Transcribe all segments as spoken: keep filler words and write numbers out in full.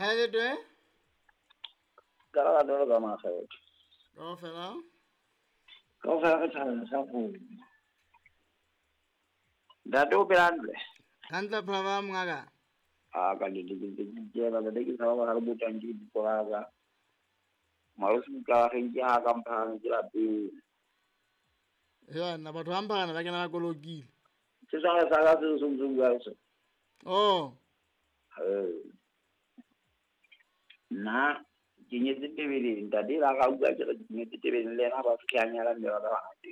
Ha le twe? Ka la dolo ka makgetho. Kaofela? Kaofela re thabela sa go. Ntate o phela hantle? Hantle phela ba mongaka. A ka le le le ke ba le ke sa ba re botang ke diporaka. Malosi ka re ke ha ka mphang ke lapeng. Ya nna batho ba mphana ba kena ba kolokile. Se sa sa ka se se se bua se. Oh. Eh. Nna ke nyetse Tebeleng, ntate la ga bua ke re ke nyetse Tebeleng le ena ba fitlha nyala mme ba ba bangata.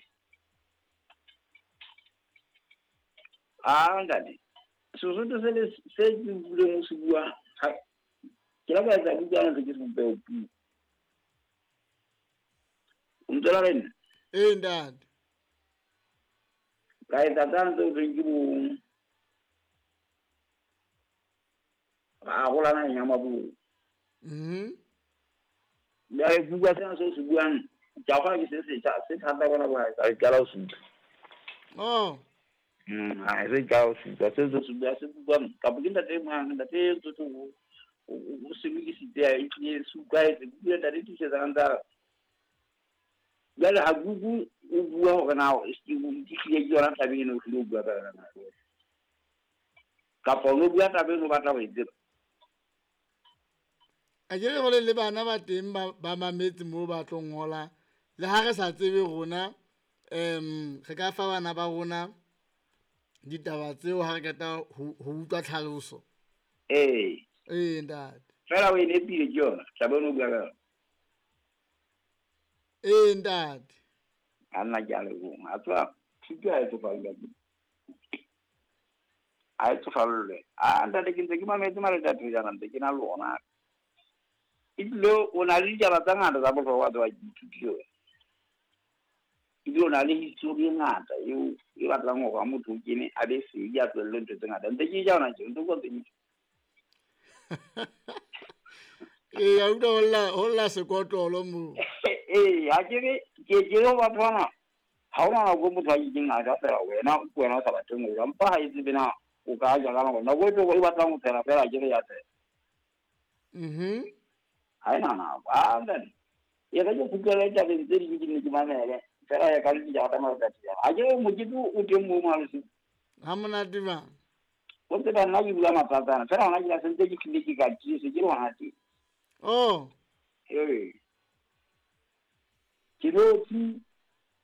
Ah ntate, Sesotho se le se ke buileng o se bua, ke la ka etsa bukana ntse ke se bopeho puo. O ntse la rena? Ee ntate. Ka etsa tsane tse o thweng ke bo ra arolana naheng ya Maburu. Mhm. Jwale ke bua sena seo se buang, ke a kgolwa ke se setjha, se thata bona bo ha e qala ho se utlwa. Oh. Mm, ha e se qala ho se utlwa, se se bua se buang, kapa ke ntate e mang, ntate e tsotsi o o se lokisitse, e tlile se utlwahetse, bua ntate tiisetsa ntsa. Jwale ha Google o bua hore na o hlile ke yona taba eno o hlile o bua ka yona na. Kapa o bua taba eno o batla ho e tseba. A ke re hore le bana ba teng ba ba mametse moo ba tlo ngola le ha re sa tsebe rona em re ka fa bana ba rona ditaba tseo ha re qeta ho utlwa tlhaloso. Ee. Ee ntate. Fela o e nepile ke yona taba eno o bua ka yona. Ee ntate. A nna ke a leboha. A tseba thuto ha e tsofallwe. Ha e tsofallwe. A ntate ke ntse ke mametse maletati jana ntse ke na le ona. Ebile o na le ditaba tse ngata tsa bohlokwa tse wa ithutile wena. Ebile o na le history e ngata eo e batlang hore ha motho o kene a be sedi a tlohelle ntho tse ngata. Ntse ke ja hona tje, ntse ke ntse ke. Ee, a utlwa ho lla ho lla sekotlolo moo. Ee, ha ke re ke ke re batho bana ha hona nako motho a ileng a ja fela wena ke wena o sa batleng ho ja, empa ha e tsebe na o ka ja ka nako. Nako e tlo e batlang ho phela fela ke re ya phela. Mhm. Ha ena nako. Ah ntate. E re ke kgutlele tabeng tse ding ke nne ke mamele. Fela ya ka le dijara tsa matsatsi a. Ha ke re mokete o teng moo Malosi. Ha monate ba. O tseba nna ke bua matsatsana. Fela hona ke la sentse ke hlile ke ka tiise ke le hona teng. Oh. Ee. Ke notshi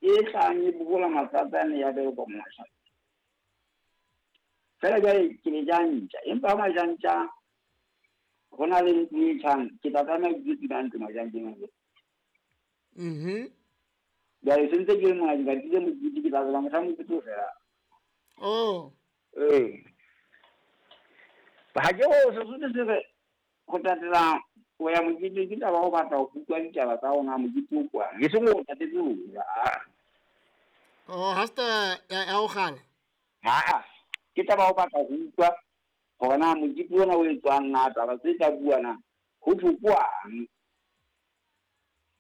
e hlang e bokola matsatsana ya bereko mosha. Fela jwale ke le jantja, empa ha majantja ho na le ntlo e tjhang, ke tla tlameha ke dula ntlo majantjeng a. Mhm. Jwale se ntse ke le mona ke batlile mokete ke tla tsela mohla mokete o fela. Oh. Ee. Ha ke ho Sesotho se re ho tatela ho ya mokete ke taba ho batla ho utlwa ditaba tsa hona mokete o kwang. E seng ho tatetse ho ja. Oh, ha se taba ya ho kgala? Ha, ke taba ho batla ho utlwa hore na mokete ona o etswang na taba tse tla bua na ho thwe kwang.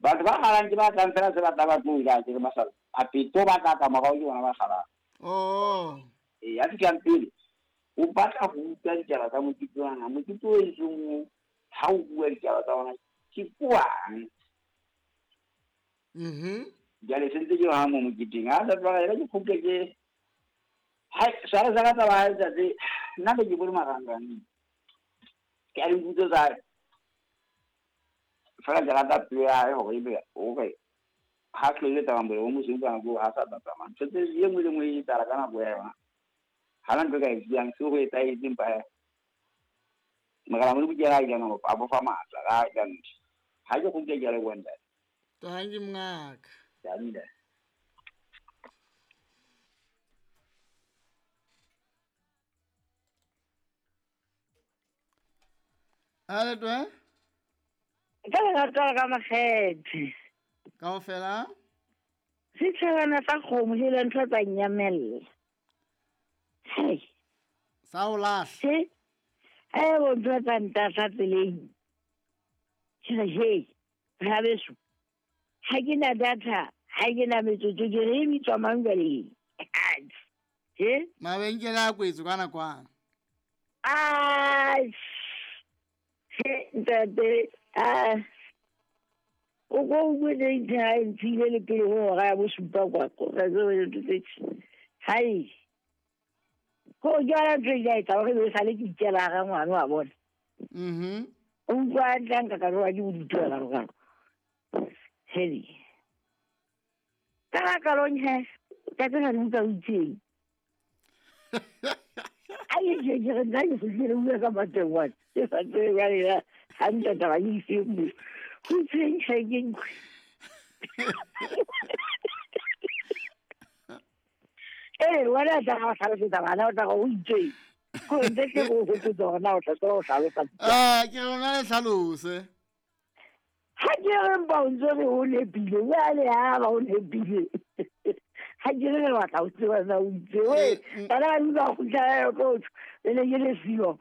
Batho ba kgalang ke ba tlang fela se batla ba tlo ja ke re masala. A peto ba tla ka morao ke bona ba kgalang. Oh. Ee, ya fihlang pele o batla ho utlwa ditaba tsa mokete ona. Mokete o entsweng ha o bua ditaba tsa ona ke kwang. Mhm. Jwale se ntse ke ha mo moketeng. Ha sa tloga ke kgutle ke ha sa sa ka taba ha ntate nna be ke bone marangrang. Ke a diputso tsa fela ke rata pelo ya hae hore ebe hore ha tlohele taba molemo o mosweu ka nako ha sa tla tsamaya. Ntho tse e nngwe le nngwe e etsahala ka nako ya yona. Ha na ntho e ka e buang seo ho etsahetseng pa Morena Modimo ke yena a ileng a bo fa matla ka ka ntho. Ha ke kgutle ke a leboha ntate. Tanki mongaka. Tanki. A le twe? Ka lerato la ka makgethe. Kaofela? Setjhabana sa kgomo hele ntho tsa nyamella. Hei. Sa o lahla. He. Eh bo ntho tsa ntahla tseleng. Ke re hei, rabeso. Ha ke na data, ha ke na metsotso ke re e bitswa mang jwale? He? Mabenkele a kwetswe ka nakwana. Ai. He, Ntate a o ko o bone ha e ntshile le pele ho hora ya bosupa kwa ko hai ko jwala ntho e ka etsa hore be sale ke ikela hara ngwana wa bona. Mhm. O utlwa hantle nka ka roa ke bodutu ka rokalo. Heli. Ka la kalong he, ka tsena le utlwa o itseng. Ai ke ke re nna ke fihlile bua ka mateng wa. Ke sa tsebe jwale ya hantle taba ke ise mo. Ho itseng he ke nkwe. Eh, wena tla ga hlalosetsa bana o tla go o itseng. Ko ntse ke go hopotsa hore na o tla tseba ho hlalosa. Ah, ke rona le hlalose. Ha ke re mpa o ntse re o nepile, jwale ha ba o nepile. Ha ke re re batla ho tseba na o itse. We, bana ba utlwa kgutla ya kotso, le ne ke le siyo.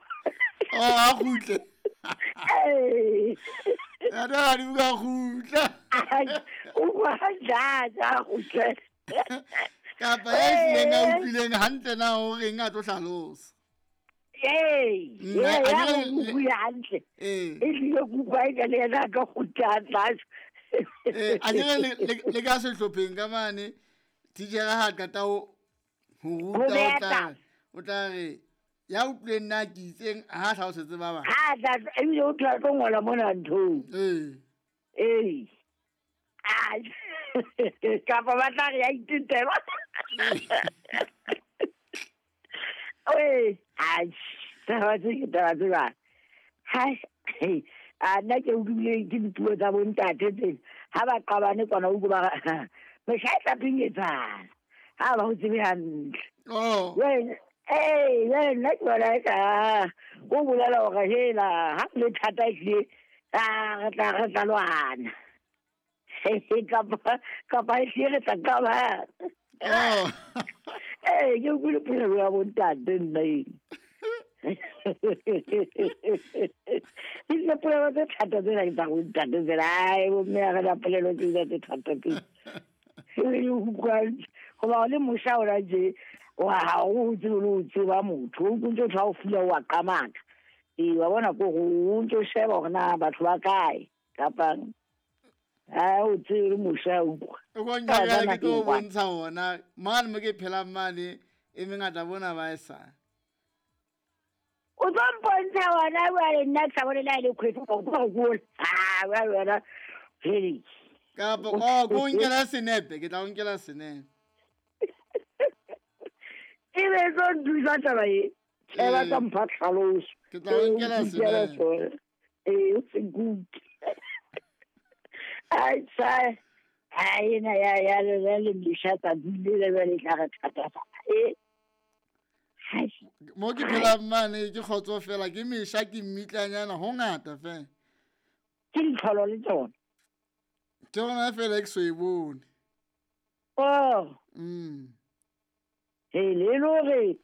Oh, a kgutle. Eh. Ya da di buka kgutla. O kwa ja ja kgutle. Kapa ya hlileng a utlwileng hantle na o reng a tlo hlalosa. Ee, Nna, ee, a ya ke re- go utlwa hantle. Ee. E tlile kutlwa e ka le yena a ka kgutla tlase. Eh, a ke re le- le le ka sehlopheng ka mane titjhere ha qeta ho ho ruta Ho o beha tla taba. o tla re ya utlwileng nna ke itseng ha a hlalosetse ba bang. Ha tla ebile o tla tlo ngola mona nthong. Ee. Ee. Ai. Kapa ba tla re ya itetela. Ee, ai, taba tse ke taba tse ba. Hai, a nna ke utlwile ke dipuo tsa bontate tsena. Ha ba qabane kwana o utlwe ba re, mehla e tla pinyetsana. Ha ba ho tsebe hantle. Oh. Jwale, ee, jwale nna ke bona eka o bolela hore hela ha ho le thata ehlile, ah, re tla re tla lwana. Kapa kapa ehlile re tla qabana. Oh. Ee, ke utlwile polelo ya bontate nna eno. Ebile polelo tse thata tsena ke tsa bontate tsena. Ai, bomme ha re na polelo tsena tse thata tsena. Ebile o utlwa hoba o le mosha hona tje, wa ha o tsebe le ho tseba motho. O ntso tla o fula wa qamaka. Ee, wa bona ko o ntso sheba hore na batho ba kae kapa ha o tsebe le mosha o utlwa. O ko nka ke tlo o bontsha ona mane mo ke phelang mane e mengata bona ba e sa. O tlo mpontsha ona jwale nna ke sa bone le ha e le kgwedi o tlo go gola. Ah, jwale wena Felix. Kapa oh ko nkela senepe, ke tla o nkela senepe. E be tlo nthusa taba e. E ba tla mpha tlhaloso. Ke tla o nkela senepe. Ee, o se nkuke. Ai, tsa. Ai, ena ya ya le le le mesha tsa dule le jwale e tla re thatafatsa. E. Hai. Mo ke phelang mane ke kgotso fela ke mesha ke mmitlanyana ho ngata fela. Ke ditlholo le tsona. Ke yona fela ke so e bone. Oh. Mm. He, le le hore